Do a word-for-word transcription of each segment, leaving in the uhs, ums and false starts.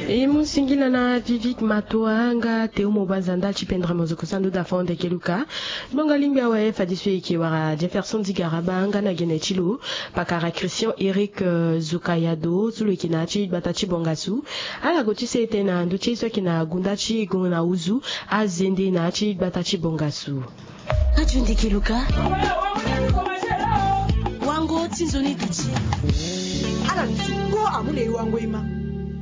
E mu singila na Vivik Matoa nga Théo Mobanza ndali ti pendere mozoko sandu da fond eke luka. Gbonga lingbi awe fadi so eke wara Jefferson Digaraba nga na gene ti lo pakara Christian Eric Zukayado so lo eke na ya ti gbata ti Bongasu. Ala go ti se ete na ndö ti ye so eke na gunda ti gongo na uzu azende na ya ti gbata ti Bongasu. Kati ndiki luka. Wango ti nzoni duti. Ala ni ti kpo amu na e wango e ma.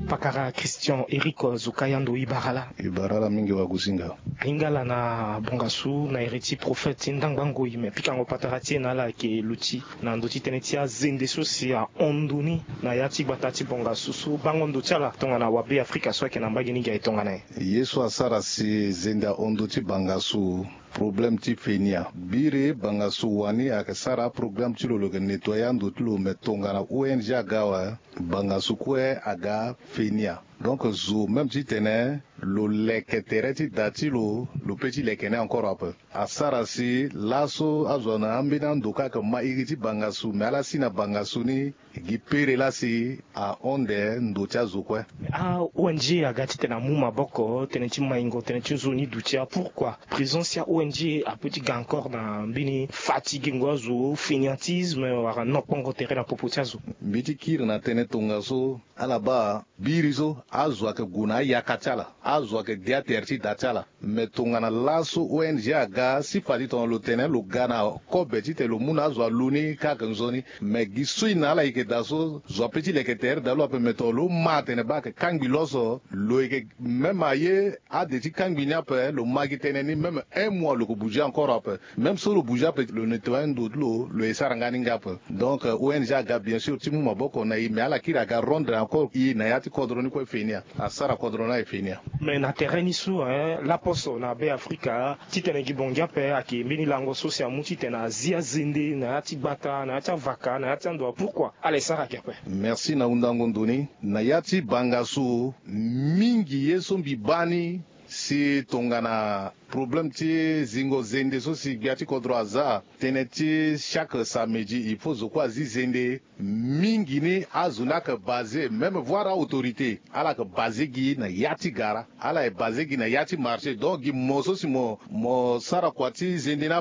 Pakara Christian Eric Zukayando, e bara ala. E bara ala mingi wagusinga. Ahinga ala na Bongasu na iri ti prophète ti ndangba ngoi me pikango patara ti e na ala ayeke luti na ndö ti tënë ti azende so si ahon ndö ni na ya ti gbata ti Bongasu so bango ndo ti ala tongana wabe Afrika so ayeke na mbage ni gi aye tongana nyen? Ye so asara si zende ahon ndö ti Bangasu, problème ti fenia. Biri Bangasu wani ayeke sara aprogramme ti lo, lo yeke nettoyer ando ti lo, me tongana O N G aga awe, Bangasu kue aga fenia. Donc zo même titene lo leke tere ti da ti lo, lo peut ti leke ni encore ape. Asara si laso azo na ambeni ando kâ ayeke ma iri ti Bangasu, me ala si na Bangasu ni gi pere laa si ahon nde ndo ti azo kue. A-O N G aga titene amu maboko tënë ti maingo tënë ti nzoni duti. Pourquoi présence ti a-O N G apeut ti ga encore na mbeni fatigengo azo, fainéantisme wala nokpongo tere na popo ti azo? Mbi ti kiri na tënë tongaso, ala baa biri so azo ayeke gue na ayaka ti ala, azo ayeke de atere ti da ti ala. Me tongana laso O N G aga, si fade tongana lo tene lo ga na kobe titene lo mu na azo alu ni kâ ayeke nzoni. Me gi so e na ala e yeke daa so, zo apeut ti leke tere daa lo ape. Me tongana lo ma atene baa ayeke kangbi lo so, lo yeke même aye ade ti kangbi ni ape, lo ma gi tënë ni même un mois lo yeke bouger encore ape. Même so lo bouger ape, lo nettoyer ndo ti lo, lo ye sara nga ni nga ape. Donc O N G aga bien sûr ti mu maboko na e, me ala kiri aga rendre encore e na ya ti kodro ni kue feni. Asara kodro ni aye feni. Mais na tere ni so, hein, laposo na Be Afrika, titene gi bongi ape ayeke mbeni lango so si amu titene azi azende na ya ti gbata, na ya ti avaka, na ya ti ando. Pourquoi ala ye sara gi ape? Merci na hundango ndo ni. Na ya ti Bangasu, mingi ye so mbi baa ni si tongana problème ti zingo zende so si gbia ti kodro aza, tënë ti chaque samedi il faut zo kue azi zende. Mingi ni azo ni ayeke basé, même voire a-autorité, ala yeke basé gi na ya ti gara, ala ye basé gi na ya ti marché. Donc gi mo so si mo, mo sara kua ti zende ni